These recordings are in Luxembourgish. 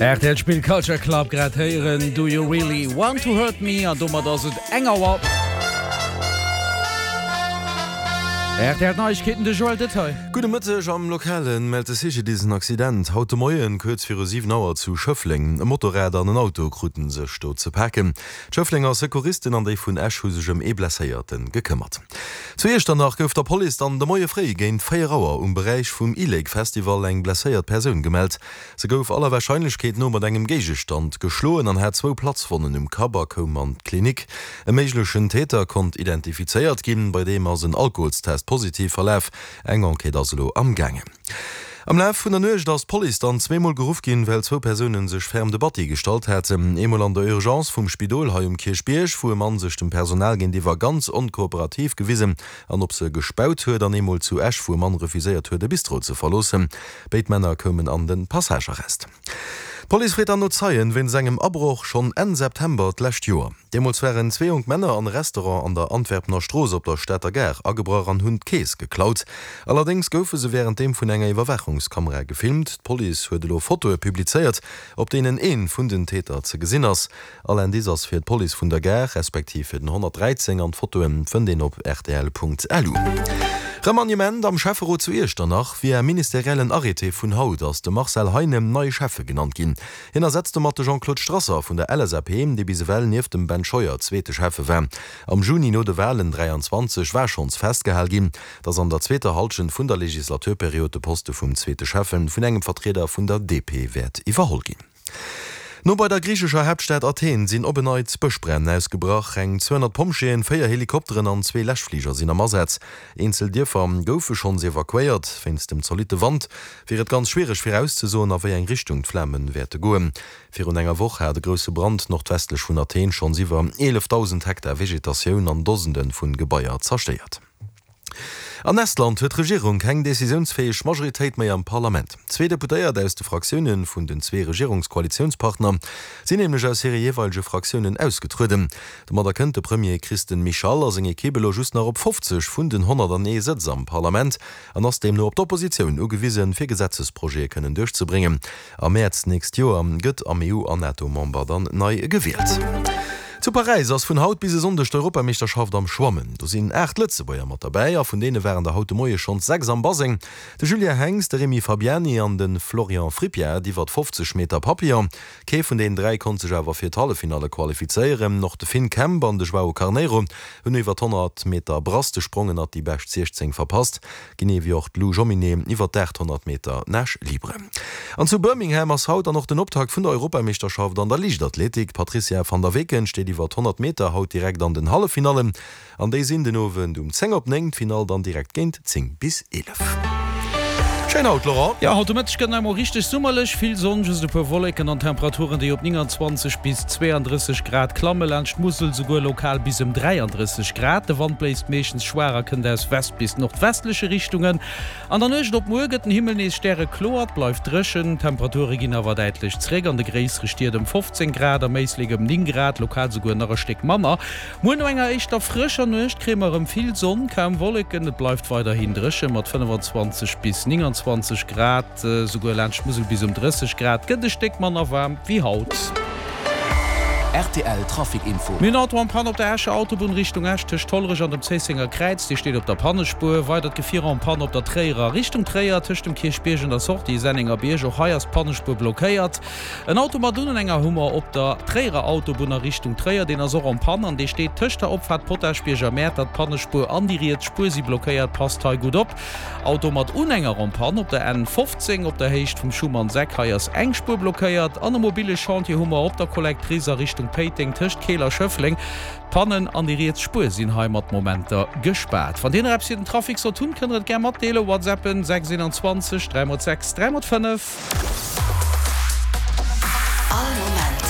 Rtl spillt Culture Club, grad héieren Do You Really Want To Hurt Me an domat ass et eng Auer. Rtl Neiegkeeten, de Joël Detail. Gudde Mëtteg, Am Lokale mellt de CGDIS en Accident haut de Moien kuerz viru 7 Auer zu Schëffleng. E Motorrad an en Auto kruten sech do ze paken. D'Schëfflenger Secouristen an déi vun Esch hu sech ëm ee Blesséierte gekëmmert. Zu Iechternach gouf der Police dann de Moie fréi géint 4 Auer um Beräich vum E-Lake Festival eng blesséiert Persoun gemellt. Se gouf aller Warscheinlechkeet no mat engem Géigestand geschloen an hat zwou Platzwonnen um Kapp a koum an d'Klinik. E méiglechen Täter konnt identifizéiert ginn, bei deem ass en Alkoholstest positiv verlaf. Eng Enquête ass elo am gaangen. Am Laf vun der Nuecht ass d'Police dann zweemol geruff ginn, well zwou Persoune sech ferm de Batti gestallt haten. Eemol an der Urgence vum Spidol hei um Kierchbierg, wou e Mann sech dem Personal géintiwwer ganz onkooperativ gewisen an op se gespaut huet, an eemol zu Esch, wou e Mann refuséiert huet, e Bistro ze verloossen. Béid Männer koumen an de Passagearrest. D'Police freet dann no Zeien wéinst engem Abroch schonn Enn September d'lescht Joer. Deemools waren zwee jonk Männer an e Restaurant an der Antwerpener Strooss op der Stater Gare agebrach an hunn d'Keess geklaut. Allerdéngs goufe se wärenddeem vun enger Iwwerwaachungskamera gefilmt. D'Police huet elo Fotoe publizéiert, op deenen ee vun den Täter ze gesinn ass. All Indice ass fir d'Police vun der Gare, respektiv fir den 113 an d'Fotoe fënnt een op rtl.lu. Remaniement am Schäfferot zu Iechternach, Via ministeriellen Arrêté vun haut ass de Marcel Heinen neie Schäffe genannt ginn. Hien ersetzt domat de Jean-Claude Strasser vun der LSAP, dee bis ewell nieft dem Ben Scheuer zweete Schäffe war. Am Juni no de Walen 23 war schonns festgehal ginn, datt an der zweeter Hallschent vun der Legislaturperiod de Poste vum zweete Schäffe vun engem Vertrieder vun der DP wäert iwwerholl ginn. No bei der griichescher Haaptstad Athen sinn op en Neits Bëschbränn ausgebrach. Eng 200 Pompjeeën, 4 Helikopteren an zwee Läschfliger sinn am Asaz. Eenzel Dierfer goufe schonns evakuéiert. Wéinst dem zolitte Wand wier et ganz schwiereg virauszesoen, a wéi eng Richtung d'Flame wäerte goen. Virun enger Woch hat e grousse Brand nordwestlech vun Athen schonns iwwer 11.000 Hektar Vegetatioun an Dosende vun Gebaier zerstéiert. An Estland huet d'Regierung keng decisiounsfäeg Majoritéit méi am Parlament. Zwee Deputéiert aus de Fraktioune vun den zwee Regierungskoalitiounspartner sinn nämlech aus hire jeeweilege Fraktiounen ausgetrueden. Domadder kënnt de Premier Kristen Michal a seng Ekipp elo just nach op 50 vun den 101 Sëtz am Parlament an ass deemno op d'Oppositioun ugewisen, fir Gesetzesprojete kënnen duerchzebréngen. Am Mäerz d'nächst Joer gëtt am EU an NATO-Member dann nei gewielt. Zu Paräis ass vun haut bis e Sonndeg d'Europameeschterschaft am Schwammen. Do sinn 8 Lëtzebuerger mat derbäi a vun deene waren der haut de Moie schonns 6 am Baseng, de Julien Henx, de Rémi Fabiani an de Florian Frippiat iwwert 50 Meter Papillon. Kee vun deenen 3 konnt sech awer fir d'Halleffinalle qualifizéieren. Och de Finn Kemp an de Joao Carneiro hunn iwwert 100 Meter Brass de Sprong ënnert déi bescht 16 verpasst. Genee wéi och d'Lou Jomminet iwwer d'800 Meter Nage libre. An zu Birmingham ass haut dann och den Optakt vun der Europameeschterschaft an der Liichtathletik. D'Patrizia van der Weken steet iwwer 100 Meter haut direkt an den Halleffinallen an déi sinn den Owend um 10 op 9, d'Finall dann direkt géint 10 bis 11. Schéin haut, Laurent! Jo, haut de Mëtteg gëtt nach emol richteg summerlech, vill Sonn, just e puer Wolleken an Temperaturen, déi op 29 bis 32 Grad klammen, laanscht d'Musel souguer lokal bis ëm 33 Grad. De Wand bléist meeschtens schwaach a kënnt aus West bis nordwestleche Richtungen. An der Nuecht op muer gëtt den Himmel nees stärekloer, et bleift dréchen. D'Temperature ginn awer däitlech zréck, an de gréissere Stied ëm 15 Grad, am Éislek ëm 9 Grad, lokal souguer nach e Stéck manner. Muer no enger éischter frëscher Nuecht kréie mer erëm vill Sonn, kaum Wolleken, et bleift weiderhin dréche mat 25 bis 29 Grad. Souguer laanscht d'Musel bis um 30 Grad, gëtt e Stéck manner waarm wéi haut. Rtl Trafic Info. Mir hunn Auto en panne op der Escher Autobunn Richtung Esch tëscht Hollerech an dem Zéissenger Kräiz, dee steet op der Pannespuer. Weidert Gefier en panne op der Tréierer Richtung Tréier tëscht dem Kierchbierg an der Sortie Sennengerbierg. Och hei ass d'Pannespuer blockéiert. En Auto mat Unhänger hu mer op der Tréierer Autobunn a Richtung Tréier, deen ass och en panne an dee steet tëscht der Opfaart Potaschbierg a Mäertert. D'Pannespuer an déi riets Spuer si blockéiert, passt hei gutt op. Auto mat Unhänger en panne op der N 15 op der Héicht vum Schumannseck. Hei ass eng Spuer blockéiert an e mobile Chantier hu mer op der Collectrice a Richtung Péiteng tëscht Keel a Schëffleng. D'Pannen an déi riets Spuer sinn hei mat Momenter gespaart. Wann Dir nach eppes fir den Trafic sollt hunn, kënnt der et gär matdeelen. Whatsappen 6 21 3 x 6 3 x 5. All Moment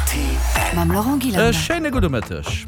rtl. Mam Laurent Gillander. E schéine gudde Mëtteg.